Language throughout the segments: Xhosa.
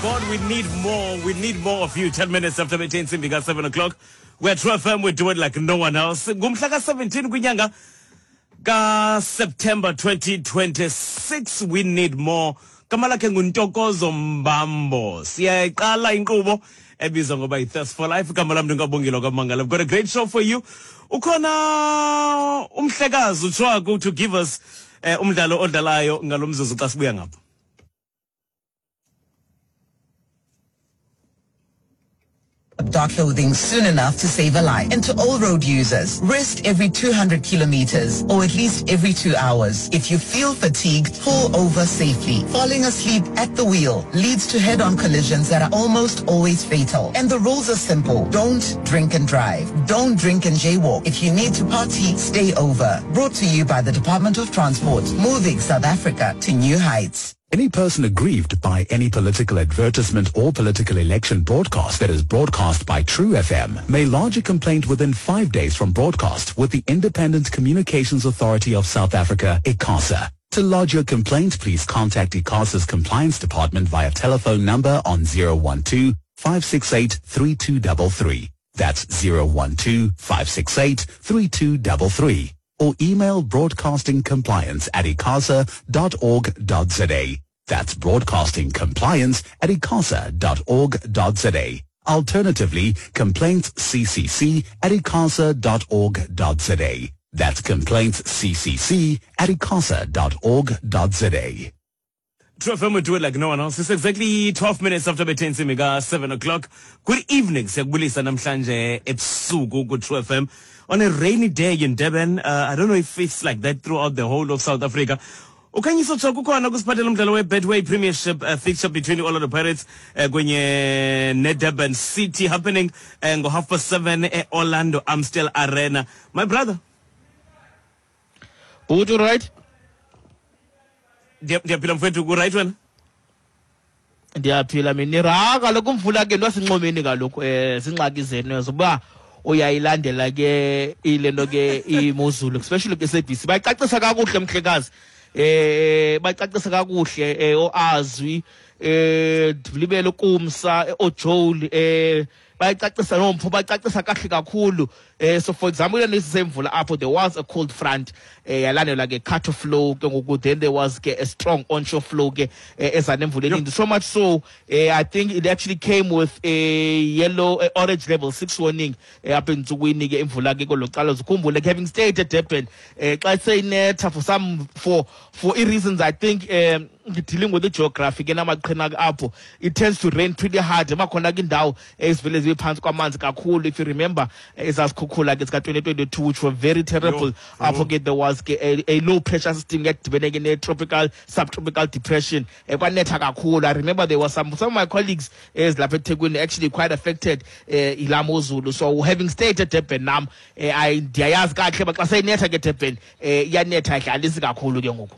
board. We need more. We need more of you. 10 minutes after bethe intsimbi ka-7 o'clock. We're True FM. We do it like no one else. Ngumhla ka-17 kwinyanga kaSeptember 2026. We need more. Gama lakhe nguNtokozo Mbambo. Siyayiqala inkqubo ebizwa ngoba yi-Thirst for Life. Igama lam ndingabongile kwaMangala. I've got a great show for you. Ukhona umhlekazi uTshwaku to give us eh, umdlalo odlalayo ngalo mzuzu xa sibuya ngapha. Dark clothing soon enough to save a life. And to all road users, rest every 200 kilometers or at least every 2 hours. If you feel fatigued, pull over safely. Falling asleep at the wheel leads to head-on collisions that are almost always fatal. And the rules are simple. Don't drink and drive. Don't drink and jaywalk. If you need to party, stay over. Brought to you by the Department of Transport, moving South Africa to new heights. Any person aggrieved by any political advertisement or political election broadcast that is broadcast by True FM may lodge a complaint within 5 days from broadcast with the Independent Communications Authority of South Africa, ICASA. To lodge your complaint, please contact ICASA's Compliance Department via telephone number on 012-568-3233. That's 012-568-3233. Or email broadcastingcompliance@icasa.org.za. That's broadcastingcompliance@icasa.org.za. Alternatively, complaintsccc@icasa.org.za. That's complaintsccc@icasa.org.za. True FM will do it like no one else. It's exactly 12 minutes after bethe intsimbi ka-7 o'clock. Good evening. Siyakubulisa namhlanje ebusuku ku-True FM. On a rainy day in Durban. I don't know if it's like that throughout the whole of South Africa. Ukhanyiso Tshoko ukhona kusiphathela umdlalo we-Betway Premiership fixture between i-Orlando Pirates kunye ne-Durban City happening ngo-half past 7 e-Orlando Amstel Arena. My brother. Bhuti, right? Ndiyaphila mfowethu, ku-right wena? Ndiyaphila mina. Ra kaloku umvula ke ntosinxomeni kaloku, zingxaki zenu ezo uba uyayilandela ke ile nto ke imozulu, especially ke SABC. Bayicacisa kakuhle mhlekazi. Bayicacisa kakuhle oazwi, ndilibele ukumsa, oJoel, bayicacisa nompho, bayicacisa kahle kakhulu. So for example, le nto semvula apho there was a cold front, yalandelwa ke cut off flow ke ngoku, then there was ke a strong onshore flow ke eza nemvula eninzi. So much so, I think it actually came with a yellow, orange level 6 warning, apha entsukwini ke imvula ke kwelo cala. Zikhumbule ke having stayed at Durban, xa seyinetha for some, for, for reasons I think, dealing with the geography ke namaqhina apho, it tends to rain pretty hard. Emakhona ke indawo ezivele zibe phantsi kwamanzi kakhulu. If you remember, ezazikhukhula ke zika 2022, which were very terrible. Apho ke there was ke a low pressure system edibene ke ne-tropical, subtropical depression. Kwanetha kakhulu. I remember there was some of my colleagues ezilapha eThekwini actually quite affected, yilaa mozulu. So having stayed at Durban nam, ndiyayazi kakuhle uba xa seyinetha ke Durban, iyanetha idlalisi kakhulu ke ngoku.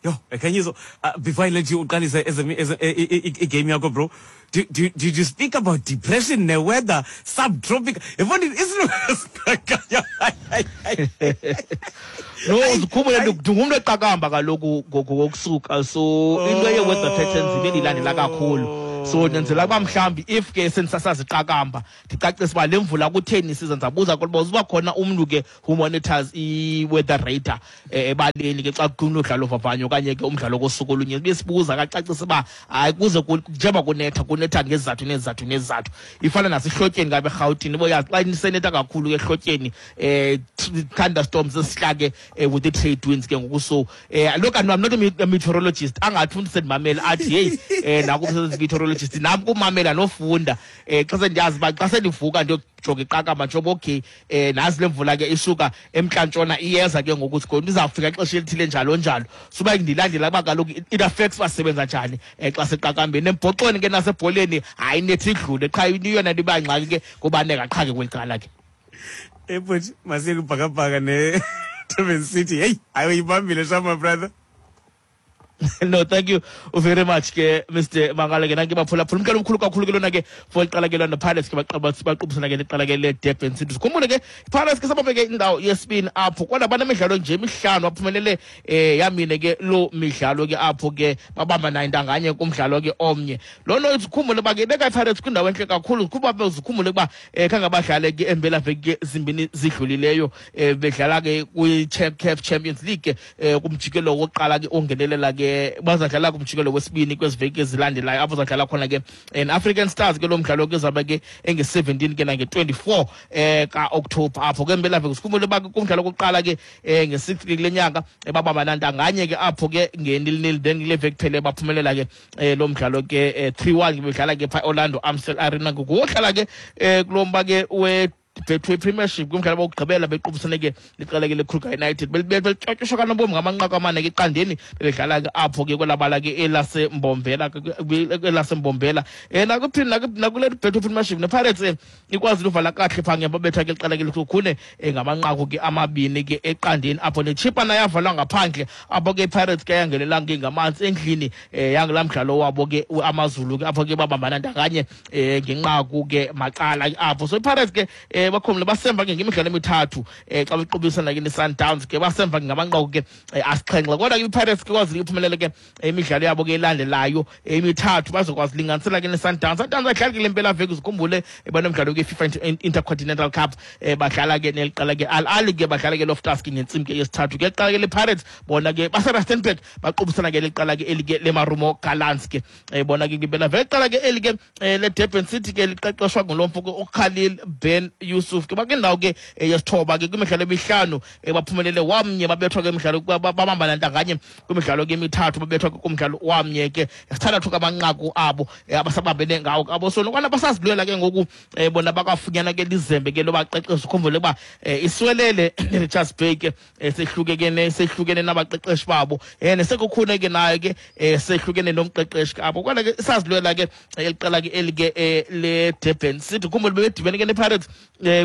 Yo, Khanyiso, before I let you uqalise i-game yakho, bro, did you speak about depression, the weather, subtropical? If only it's No, uzikhumbule ndingumntu eqakamba kaloku ngokusuka. So into ye-weather patterns ibe ndilandela kakhulu. So ndenzela uba mhlawumbi if ke sendisasazi iqakamba, ndicacise uba le mvula kutheni isiza. Ndizabuza kuba uba khona umntu ke who monitors i-weather radar, ebaleni ke xa kunomdlalo ovavanyo okanye ke umdlalo kosuku olunye, sibe sibuza kacacise uba hayi kuze njengoba kunetha, kunetha ngezizathu nezizathu nezizathu. Ifana nasehlotyeni kabe eRhawutini, uboyazi xa isenetha kakhulu ke ehlotyeni, thunderstorms ezihla ke, with the trade winds ke ngoku. So, look, I'm not a meteorologist. Angathi umntu sendimamele athi hey, naku umsebenzi meteorologist, nam kumamela nofunda. Xa sendiyazi uba xa sendivuka ndiyojonga iqakamba njengoba okay, nazi le mvula ke isuka emntlantshona iyeza ke ngoku, sikhona izawufika ixesha elithile njalo njalo. Suba ndilandela uba kaloku it affects uba sisebenza njani, xa seqakambeni. Embhoxweni ke nasebholeni hayi nethi idlule qha, iyona nto iba ngxaki ke kubaneka qha ke kweli cala ke. Bhuti, masiye kubhakabhaka ne Durban City. Hey, hayi uyibambile sha, my brother. No, thank you very much ke Mr Mangala ke nanke baphulaphula umkelo omkhulu kakhulu ke lona ke for iqala ke lona Pirates ke baqubisana ke liqala ke le-Durban City. Sikhumbule ke iPirates ke sabambe ke indawo yesibini apho, kodwa banemidlalo nje emihlanu, baphumelele yamine ke loo midlalo ke apho ke babamba nayo intanganye kumdlalo ke omnye. Loo nto zikhumbule uba ke ibeka iPirates kwindawo entle kakhulu. Kuba zikhumbule ukuba khange badlale ke empelaveki ke zimbini zidlulileyo, bedlala ke kwi-CAF Champions League kumjikelo wokuqala ke ongenelela ke, bazadlala kumjikelo wesibini kwezi veki ezilandelayo, apho zadlala khona ke African Stars ke. Lo mdlalo ke zabe ke enge-17 ke nange-24 ka-October apho ke empelaveki. Sikhumbule uba ke kumdlalo wokuqala ke nge-6 ke kule nyanga babamba nantanganye ke apho ke nge-0-0, then kule veki phele baphumelela ke lo mdlalo ke 3-1, bedlala ke phaa Orlando Amstel Arena. Ngokuhlala ke kulo mba ke we Betway Premiership kumdlalo wokugqibela bequbisane ke liqela ke leKruger United, belitshotyiswa kanobomi ngamanqaku amane ke eqandeni, bebedlala ke apho ke kwelabala ke elaseMbombela. Nakuphini nakule Betway Premiership nePirates ikwazile uvala kahle phaa ngemva, babetha ke liqela ke leSekhukhune ngamanqaku ke amabini ke eqandeni apho. NeChippa nayo yavalwa ngaphandle apho ke, iPirates ke yangenelanga ke ngamanzi endlini yangelaa mdlalo wabo ke AmaZulu ke, apho ke babambana ndanganye ngenqaku ke macala apho. So iPirates ke bakhomle basemva ke ngemidlalo emithathu xa bequbisana ke ne-Sundowns ke, basemva ke ngamanqaku ke asixhenxe, kodwa ke iPirates ke kwazile iphumelele ke imidlalo yabo ke elandelayo emithathu, bazokwazi linganisela ke ne-Sundowns. Sundowns ayidlali ke le mpelaveki, zikhumbule banomdlalo ke FIFA Intercontinental Cup, badlala ke neliqela ke Al Ahly ke, badlala ke Loftus ke ngentsimbi ke yesithathu ke. Liqela ke le-Pirates bona ke base-Rustenburg, baqubisana ke liqela ke eli ke leMarumo Gallants ke bona ke kwimpelaveki. Iqela ke eli ke le-Durban City ke liqeqeshwa ngulo mfo ke uKhalil Ben Yusuf ke, bakwindawo ke yesithoba ke kwimidlalo emihlanu, baphumelele wamnye, babethwa ke imidlalo, babambana ntanganye kwimidlalo ke emithathu, babethwa ke kumdlalo wamnye ke. Sithandathu kamanqaku abo abasabambene ngawo abo, so nokwana basazilwela ke ngoku bona bakafunyana ke lizembe ke lobaqeqesha. Ukhumbule uba iswelele neRichards Bay ke sehluke ke sehlukene nabaqeqeshi babo, neSekhukhune ke nayo ke sehlukene nomqeqeshi ke apho, kodwa ke isazilwela ke eliqela ke eli ke le-Durban City. Khumbule bebedibene ke nePirates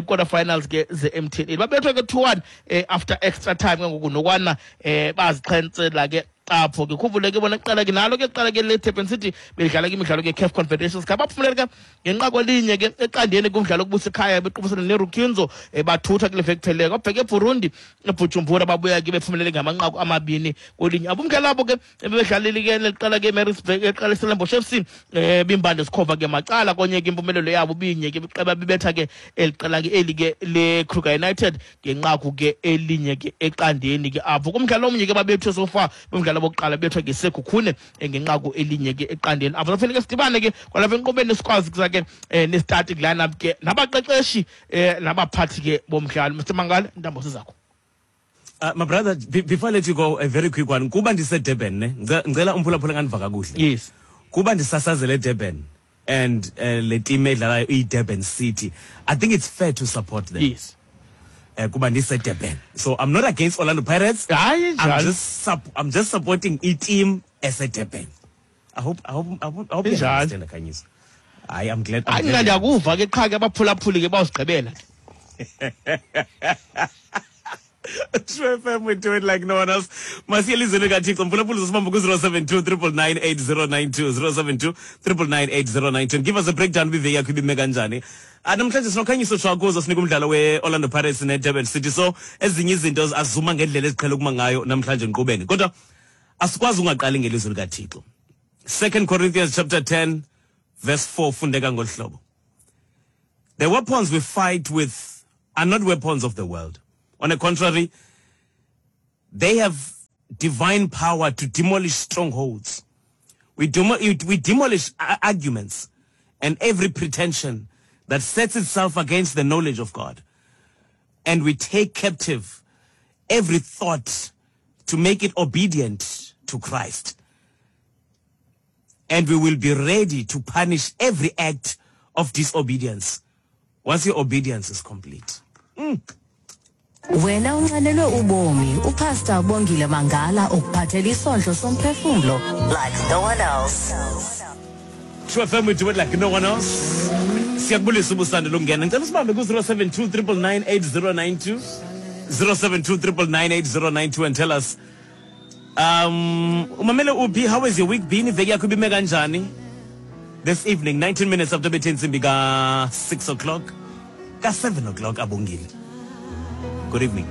quarter finals ke ze-MTN, babethwa ke 2-1 after extra time ke ngoku, nokwana bazixhentsela ke apho ke. Khumbule ke bona kuqala ke nalo ke kuqala ke le-Durban City bedlala ke imidlalo ke CAF Confederations Cup, baphumelele ke ngenqaku elinye ke eqandeni kumdlalo okubusa ekhaya bequbisana neRukinzo, bathutha kule veki phelileyo. Babheke eBurundi, eBujumbura, babuya ke bephumelele ngamanqaku amabini kwelinye. Abo umdlalo abo ke bebedlalile ke liqela ke Maritzburg, eqala iStellenbosch FC, bimbande sikhova ke macala konye ke, impumelelo yabo binye ke, bibetha ke eliqela ke eli ke le-Kruger United ngenqaku ke elinye ke eqandeni ke apho. Kumdlalo omnye ke babethwe so far kumdlalo bokuqala, bethwa ke Sekhukhune ngenqaku elinye ke eqandeni apho. Safanele ke sidibane ke kwalapha enkqubeni, sikwazi kuza ke ne-starting lineup ke nabaqeqeshi nabaphathi ke bomdlalo. Mr Mangala, intambo zizakho. My brother, before I let you go, a very quick one. Kuba ndise-Durban, ne? Ngicela umphulaphula ngandiva kakuhle. Yes. Kuba ndisasazele eDurban and le team edlalayo iyi-Durban City, I think it's fair to support them. Yes. Kuba ndise-Durban. So I'm not against Orlando Pirates. Hayi. I'm just supporting i-team ese-Durban. I hope you Injalo. understand, Khanyiso. Hayi, I'm glad. I'm Hayi, mna glad. Ndiyakuva ke, qha ke abaphulaphuli ke bawusigqibela. True FM, we do it like no one else. Masiye elizweni kaThixo. Mphulaphuli, uzosibamba ku-072 999 8092, 072 999 8092, and give us a breakdown kwiveki yakho ibime kanjani. Ah, namhlanje sinoKhanyiso Tshwakuzo, sinika umdlalo we-Orlando Pirates ne-Durban City. So ezinye izinto azuma ngendlela eziqhele ukuma ngayo namhlanje enkqubeni. Kodwa asikwazi ungaqali ngelizwi likaThixo. 2 Corinthians chapter 10 verse 4 fundeka ngolu hlobo. The weapons we fight with are not weapons of the world. On the contrary, they have divine power to demolish strongholds. We demolish arguments and every pretension that sets itself against the knowledge of God. And we take captive every thought to make it obedient to Christ. And we will be ready to punish every act of disobedience once your obedience is complete. Wena unxanelwe ubomi, uPastor Bongile Mangala ukuphathela isondlo somphefumlo like no one else. True FM, we do it like no one else. Siyakubulisa ubusande lokungena. Ngicela usibambe ku-072 999 8092, 072 999 8092, and tell us Umamele uphi? How has your week been? Iveki yakho ibime kanjani? This evening, 19 minutes after bethe intsimbi ka 6 o'clock, ka 7 o'clock, Abongile. Good evening.